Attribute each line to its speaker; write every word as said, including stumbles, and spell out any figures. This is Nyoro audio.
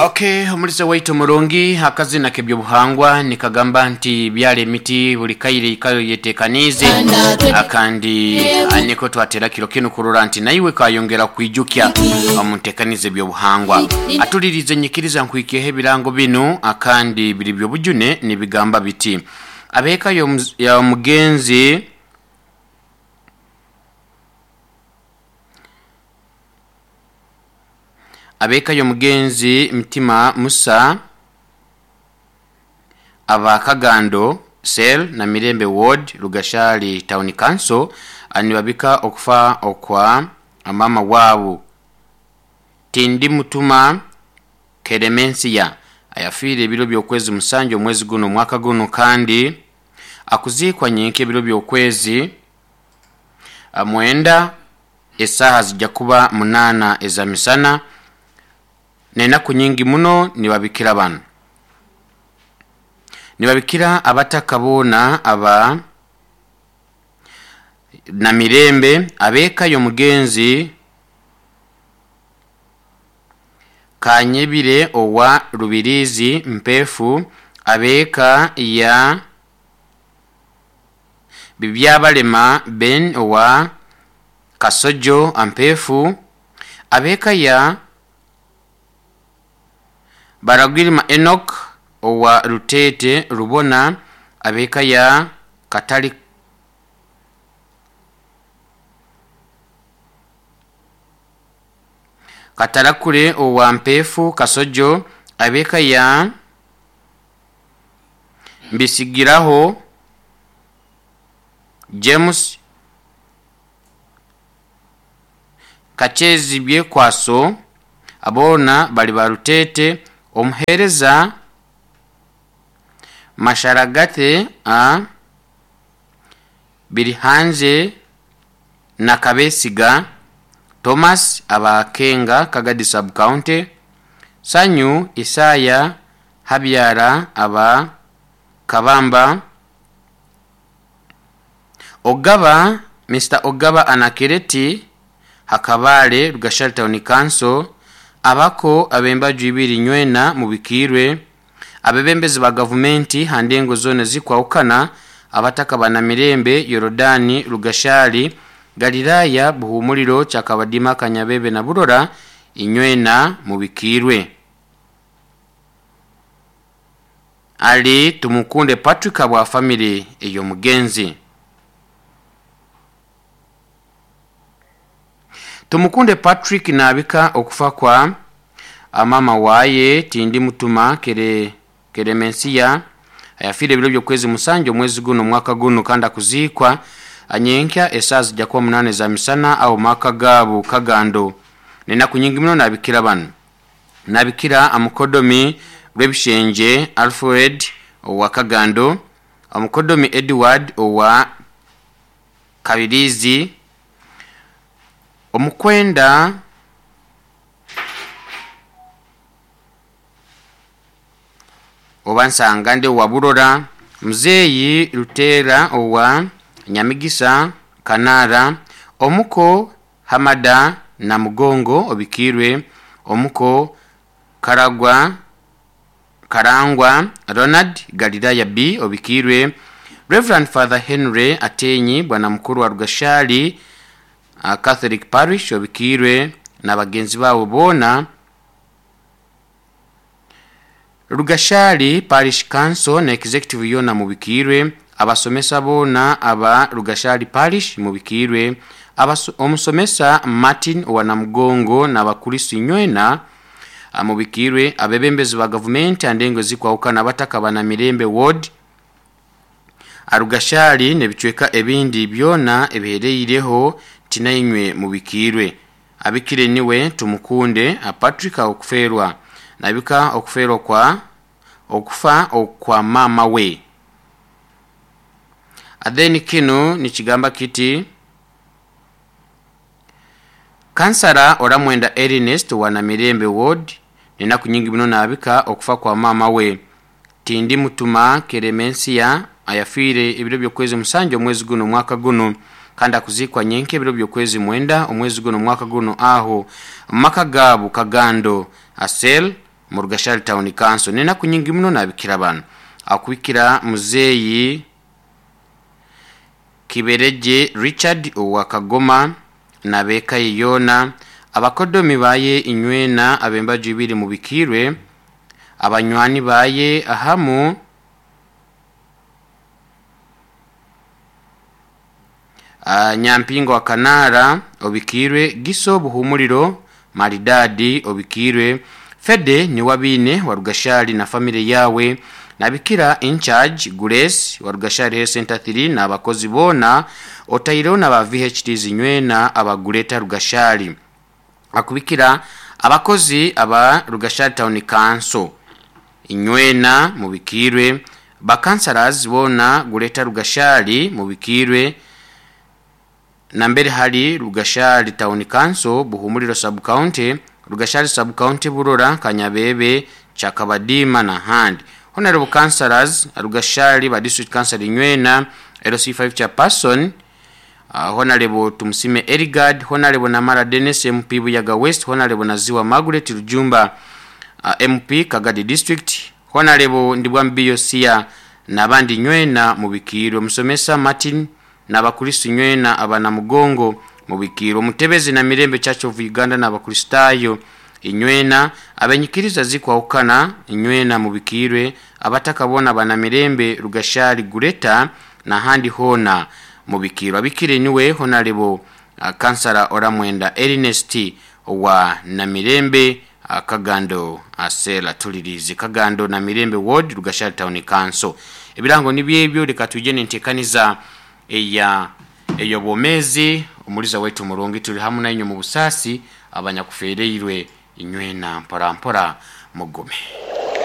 Speaker 1: Okay, omulize waitu murungi akazina k'ebyobuhangwa nikagamba nti byala emiti buli kaire ikayo yetekaniize akandi niko twatera kiro kinu kurora nti naiwe kayongera kwijukya omuntekanize ebyobuhangwa atulirize nyikiriza nkwikeho ebirango binu akandi biri byobujune nibigamba biti abeeka ya mugenzi abeeka y'omugenzi Mtima Musa aba Kagando Cell na Mirembe Ward Rugashali Town Council anibabika okufa okwa mama wabu Tindi Mutuma Keremensia ayafiire ebiro by'okwezi musanju omwezi guno omwaka guno kandi akuziikwa nyenke ebiro by'okwezi mwenda esaha zijja kuba munaana eza misana nenaku nyingi muno nibabikira bano nibabikira abataka boona aba na Mirembe abeeka y'omugenzi Kanyebire owa Rubirizi Mpefu abeeka ya Bibyabalema Ben owa Kasojo Ampefu abeeka ya Baragwirima Enoch owa Rutete Rubona abeeka ya Katali Katarakure owa Mpefu Kasojo abeeka ya Mbisigiraho James Kachezi Byekwaso abona bali barutete omuhereza Masharagate a Birihanze na Kabesiga Thomas abakenga Kagadi Sub County Sanyu Isaya Habyara aba Kabamba Ogaba Mister Ogaba Anakireti Hakabale Rugashali Town Council abako abembaju ibiri nywena mubikirwe abebembezi ba gavumenti handengo zone zikwawukana abataka bana Mirembe Yorodani Rugashali Galilaya Buhumuliro Chakabadima Kanyabebe na Burora inywena mubikirwe Ali Tumukunde Patrick abwa family eyo mugenzi Tumukunde Patrick nabika okufa kwa amama waye Tindi Mutuma kere Keremensia ayafire ebiro by'okwezi musanju omwezi guno omwaka guno kandi akuziikwa anyenkya esaa zijja kuba munane za misana awo maka gaabo Kagando nenaku nyingi muno nabikira bano nabikira amukodomi Rwebishenje Alfred owa Kagando omukodomi Edward owa Kabirizi omukwenda oba Nsangande owa Burora Muzeeyi Lutera owa Nyamigisa Kanara omuko Hamada na Mugongo obikirwe omuko Karagwa Karangwa Ronald Galilaya B obikirwe Reverend Father Henry Atenyi bwana mukuru wa Rugashali Catholic Parish obikirwe na bagenzi bawo bona Rugashali Parish Council na Executive yona mubikirwe abasomesa bona aba Rugashali Parish mubikirwe omusomesa Martin owa Namugongo na bakulisi nywena mubikirwe abebembezi ba gavumenti andengo zikwawukana abataka bana Mirembe Ward Arugashali nebicweka ebindi byona ebihereireho tinainywe mubikirwe abikire niwe Tumukunde Patrick okuferwa nabika okuferwa kwa okufa okwa mama we Adeni kinu nikigamba kiti Kansara Oramwenda Ernest wa Namirembe Ward nenaku nyingi muno nabika okufa kwa mama we Tindi Mutuma Keremensia ayafiire ebiro by'okwezi musanju omwezi guno omwaka guno kandi akuzikwa nyenke ebiro by'okwezi mwenda omwezi guno omwaka guno aho maka gaabo Kagando Asel Mu Rugashari Town Council nenaku nyingi muno nabikira bano akubikira muzeeyi Kibereje Richard owa Kagoma n'abeeka ye yoona, abakodomi baye inywena ab'embaju ibiri mubikirwe, abanywani baye ahamu uh, Nyampinga wa Kanara obikirwe, Giso Buhumuriro Maridadi obikirwe, Fede ni wabine wa Rugashari na family yawe, nabikira in charge Grace wa Rugashari Health Center three n'abakozi bona otaireho n'aba V H Ts nywena abagureta Rugashari, akubikira abakozi aba Rugashari Town Council inywena mubikirwe, bakansalas bona gureta Rugashari mubikirwe, nambere hali Rugashari Town Council, Buhumuriro Sub County, Rugashari Sub County, Burora, Kanyabebe, Chakabadima na handi. Honorable Councillors Rugashari ba District Council inywena L C five chairperson, uh, Honorable Tumusime Erigard, Honorable Namara Dennis M P Buyaga West, Honorable Naziwa Margaret Rujumba uh, M P Kagadi District, Honorable Ndibwambiyo Sia nabandi nywena mubikirwe, Musomesa Martin n'abakristo nywena abanamugongo mubikirwe, Mutebezi na Mirembe Church of Uganda n'abakristayo inywena, abenyikiriza zikwahukana inywena mubikirwe, abatakabona bana Mirembe Rugashari Gureta na handi hona mubikirwe. Abikire niwe Honorable uh, Kansala Oramwenda Ernest wa Namirembe uh, Kagando asela tulirize Kagando na Mirembe Ward Rugashari Town Council. Ebirango nibyebyo reka tujye nentekaniza eya eyo bomezi omuliza wetu murungi tuli hamu na inyo mu busasi abanyakufereirwe inywena mpora mpora mugume.